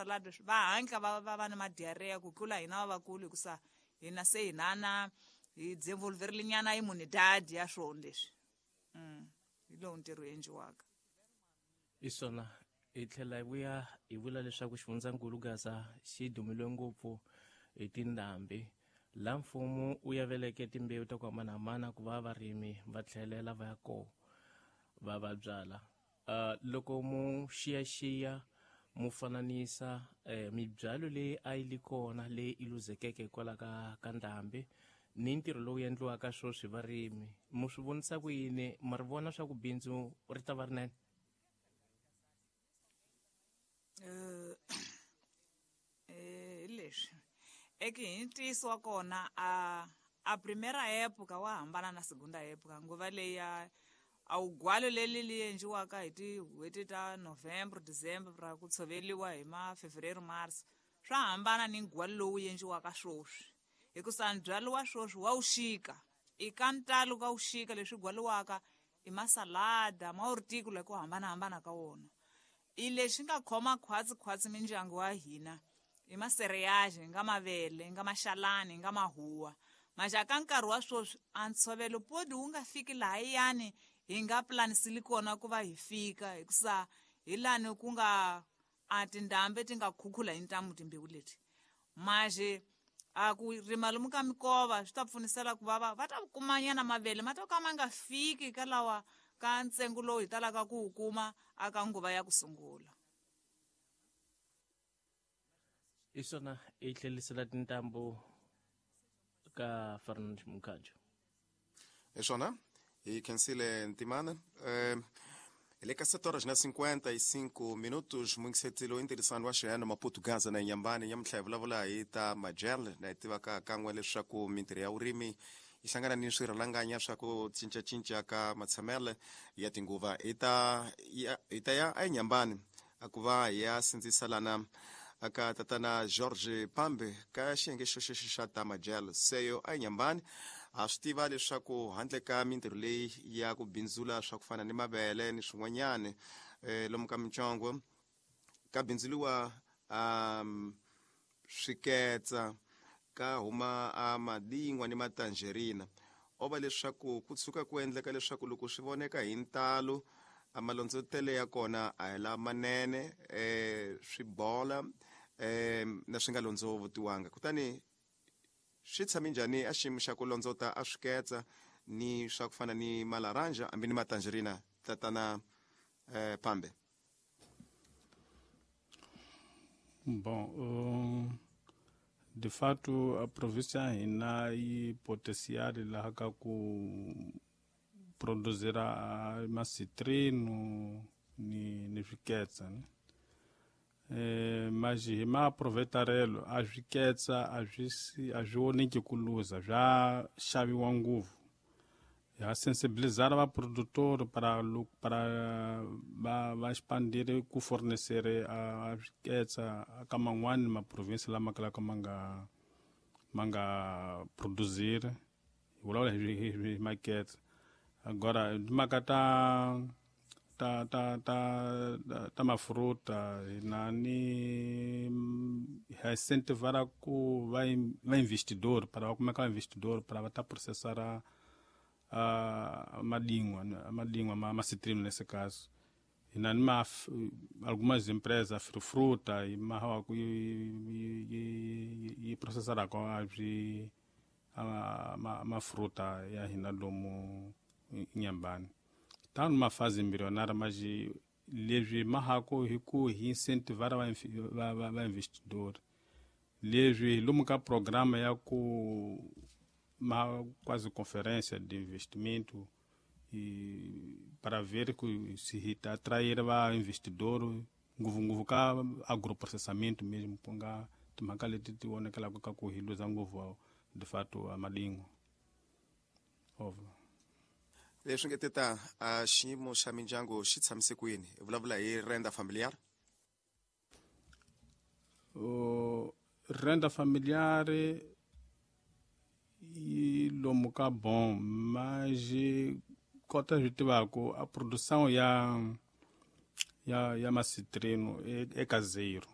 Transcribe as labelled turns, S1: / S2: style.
S1: Salad va hatla va na ma-diarrhea ku tlula hina lavakulu, hikusa hina se hinana hi develop-ile nyana immunidade ya swona leswi. Hi lowu ntirho endliwaka.
S2: Hi swona, hi tlhela hi vuya hi vula leswaku xifundzankulu Gaza xi dumile ngopfu hi tindhambi, laha mfumo wu yaveleke timbewu ta ku hambanahambana ku va varimi va tlhelela va ya kona va byala. Loko mu xiyaxiya mu fananisa mibyalo leyi a yi li kona leyi i luzekeke hikwalaho ka ndhambi ni ntirho lowu endliwaka sweswi varimi, mu swi vonisa ku yini? Ma ri vona swa ku bindzu ri ta va rinene?
S1: Hi leswi eke hi ntiyiso wa kona, a primera época wa hambana na segunda época. Nguva leyi ya a wugwalo leri li endliwaka hi tin'hweti ta November, December, ra ku tshoveriwa hi ma Fevereiro, March, swa hambana ni ndzhwalo lowu endliwaka sweswi, hikusa ndzhwalo wa sweswi wa wuxika i ka ntalo ka wuxika. Leswi gwaliwaka i masalada ma horticola ku hambanahambana ka wona, i lexi nga khoma khwatsi khwatsi mindyangu wa hina i macereals, nga mavele, nga maxalani, nga mahuwa. Maxa ka nkarhi wa sweswi a ntshovelo podi wu nga fiki lahayani hi nga planisili kona ku va hi fika, hikusa hi lani ku nga a tindhambi ti nga khukhula hi ntamu timbewu leti. Maxe a ku rima lomu ka mikova swi ta pfunisela ku va ta kumanyana mavele ma to ka ma nga fiki ka lawa ka ntsengo lowu hi talaka ku wu kuma aka nguva ya ku sungula.
S2: Hi swona, hi tlhelisela tintambu ka Fernand Mukhanjo.
S3: Hi swona, hi khensile Ntimana. Hi le ka 7 horas na 55 minutos. Muyingiseti loyi ntirhisano wa xihano Maputo Gaza na Nyambani nyamuntlha hi vulavula hi ta majel na hi tivaka kan'we leswaku mintirho ya vurimi yi hlangana ni swirhalanganya swa ku cincacinca ka matshamele ya tinguva. Hi ta ya eNyambani a ku va hi ya sindzisa lana aka tatana George Pambe ka xiyenge xo xa ta majel seyo eNyambani. Ha swi tiva leswaku handle ka mintirho leyi ya ku bindzula swa ku fana ni mavele ni swin'wanyani, lomu ka mintsongo ka bindzuliwa swiketsa, ka huma a madingwa ni matangerina. O va leswaku ku tshuka ku endleka leswaku loko swi voneka hi ntalo a malondzotele ya kona a hi lamanene, swi bola na swi nga londzovotiwanga. Kutani swi tshame njhani a xiyimo xa ku londzota a swiketsa ni swa ku fana ni malaranja hambi ni matangerina, tatana Pambe?
S4: Bom, de fato a província ya hina yi potencial laha ka ku produzir macitrino ni swiketsa, ne? Mas hi maaproveitarelo a swiketsa a swi voneki ku luza, swa xaviwa ngopfu. Ha sensibilizar va produtor para va expandir ku fornecer a swiketsa ka man'wani maprovinsi lama kalaka ma nga produzir. Hi vulavula hi maketsa. Agora timhaka ta mafruta, hina ni ha incentivar ku va investidor para va kumeka va investidor para va ta processar a madingwa ma citrino nesse caso. Hina ni ma algumas empresas fruta e ma ku yi processaraka a swi ma fruta ya hina lomu Nyambani. Tá numa fase embrionária, mas leswi mahako hi ku hi incentivar va investidor. Leswi lomu ka programa ya ku ma quase conferência de investimento e para ver que se atrair va investidor, ngopfungopfu ka agroprocessamento mesmo, ku nga timhaka leti ti vonekelaka ka ku hi luza ngopfu de fato a madingwa over.
S3: Leswi nge teta a xiyimo xa mindyangu xi tshamise kwini? Hi vulavula hi renda familiar.
S4: Renda familiar yi lomu ka bom, mas kota swi tivaku a produção ya macitrino é caseiro.